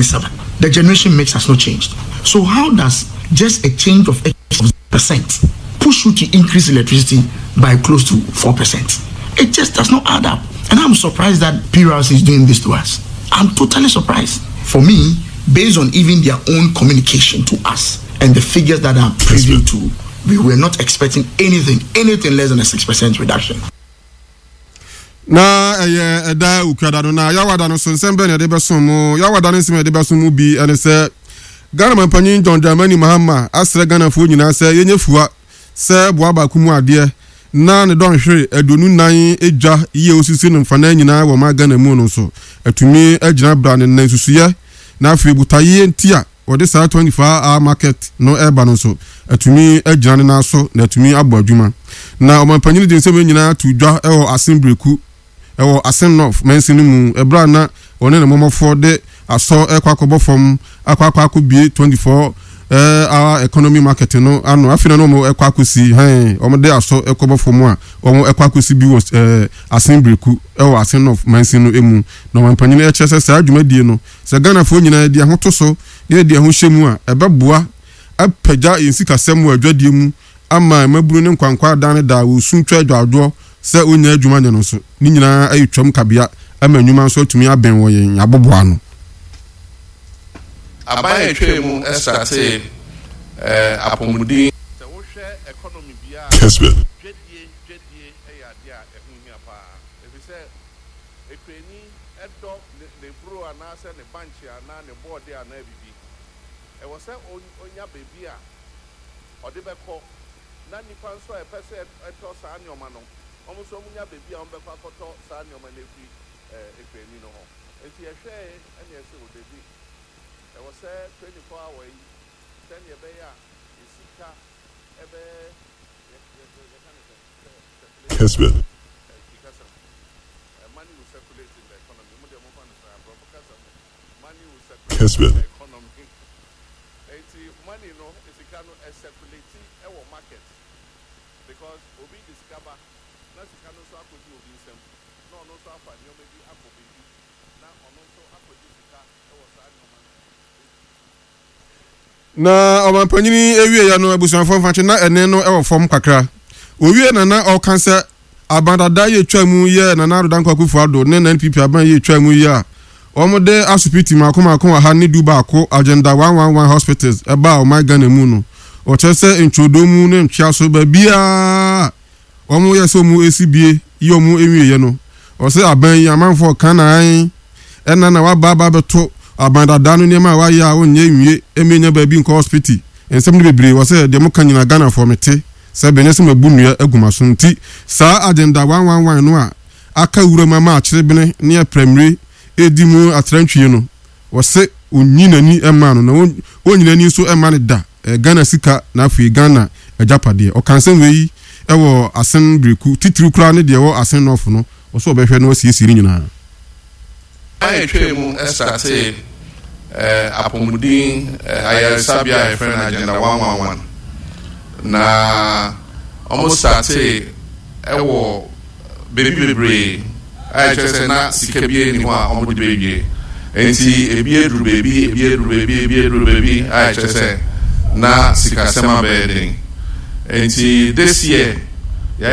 7. The generation mix has not changed. So how does just a change of X percent push you to increase electricity by close to 4%? It just does not add up. And I'm surprised that PRC is doing this to us. I'm totally surprised. For me, based on even their own communication to us and the figures that are privy to, we were not expecting anything, anything less than a 6% reduction. Na ɛyɛ ɛda Okuada no, na Yawada no so nsɛm bɛn na yɛde bɛsom mo? Yawada no nsɛm a yɛde bɛsom mo bi ne sɛ, Ghana Mampanyin John Dramani Mahama asrɛ Ghanafoɔ nyinaa sɛ yɛnyɛ fua sɛ boa baako mu adeɛ na ne dɔnhwere 24 dwa yi a ɔsisi no mfanaa nyinaa wɔ ɔman Ghana mu no nso atumi agyina bra ne nan nsusuiɛ na afei botaeɛ nti a wɔde saa 24 hour market no reba no nso atumi agyina ne nan so na atumi abɔ adwuma. Na ɔmanpanyin de nsɛm yi nyinaa too dwa wɔ Asen Breku wɔ Asen North mansin no mu bere a na ɔne ne mmɔmmɔfoɔ de asɔ rekɔ akɔbɔ fam akɔ akɔ akɔbue 24 hour economy market no ano. Afei na na wɔrekɔ akɔsi hɛn wɔde asɔ rekɔbɔ fam a wɔrekɔ akɔsi bi wɔ Asen Breku wɔ Asen North mansin no mu. Na ɔmanpanyin kyerɛ sɛ saa dwumadie no Sɛ Ghanafoɔ nyinaa de yɛn ho to so na yɛde yɛn ho hyɛ mu a, ɛbɛboa apagya yɛn sikasɛm wɔ adwadie mu ama mmabunu ne nkwankwaa daa ne daa wɔsu twa adwadwoɔ sɛ wɔnnya adwuma nyɛ no nso. Ne nyinaa ayɛ twam kabea ama nnwuma nso atumi abɛn wɔ yɛn aboboano. Aban a ɛtwaa mu startee apɔmuden. Sɛ wohwɛ economy biara a, dwadie dwadie yɛ adeɛ a ɛho hia paa efisɛ Ekuani dɔ ne n'eburo anaasɛ ne bankye anaa ne bɔɔde anaa biribi. Ɛwɔ sɛ onya baabi a ɔde bɛkɔ, na nnipa nso a ɛpɛ sɛ ɛtɔ saa nneɛma no, wɔn nso wɔnya baabi a wɔbɛkɔ akɔtɔ saa nneɛma no afiri ekuani no hɔ. Enti yɛhwɛe na yɛse, O dabi, ɛwɔ sɛ 24 hour yi, sɛnea ɛbɛyɛ a yɛn sika bɛ, yɛ, yɛ, yɛka no sɛn, sɛ circulate, Twi kasa mu. Money will circulate in the economy. Mo deɛ momfa no saa, Borɔfo kasa mu, money will circulate in the economy. Enti money no, sika no, ɛcirculate wɔ market because obi de sika ba na sika no nso akɔdi obi nsam na ɔno nso afa nneɛma bi akɔ baabi na ɔno nso akɔgye sika wɔ saa nneɛma no Na ɔmanpanyin yi wieeɛ no, abusuafoɔ mfa nkyɛ, na ɛnne no wɔ fam kakra. Owie na na ɔka sɛ aban dada yi atwa mu yɛ Nana Addo Dankwa Akufo-Addo ne NPP aban yi atwa mu yi a wɔde asopiti mmaako mmaako 111 Agenda 111 Hospitals baa ɔman Ghana mu no. Ɔkyerɛ sɛ ntwodoo mu ne ntweaso baabiara a wɔyɛ sɛ wɔsi bie yi wɔn nwieɛ no, ɔsɛ aban yi amanfoɔ ka na ae ɛna na waba aba abɛto aban dada no nneɛma a wayɛ a ɔnyɛ nwie ɛmɛ nya baabi nkɔ hospiti nsɛm no bebree wɔ sɛ deɛ moka nyina Ghanafoɔ mete sɛ bɛnyɛ sɛ mabu nnua agu maso nti saa agenda 111 no a aka wuram ama akyerebene ne aprɛmire ɛredi mu atrantwie no Ɔse ɔnyi n'ani mma no na ɔnyi n'ani nso mma no da Ghana sika na afei Ghana agyapadeɛ. Ɔka nsɛm wei wɔ Asen Bereku, titiriw koraa ne deɛ ɛwɔ Asen North no, ɔse ɔbɛhwɛ na wasiesie ne nyinaa. Aban a ɛtwaa mu startee apɔmuden ayaresabea a yɛfrɛ no Agenda 111 na wɔn startee wɔ baabi bebree a ɛkyerɛ sɛ na sika biara nni hɔ a wɔde bɛwie. Enti ebi aduru baabi, ebi aduru baabi, ebi aduru baabi a ɛkyerɛ sɛ na sikasɛm abɛyɛ den. Enti this year.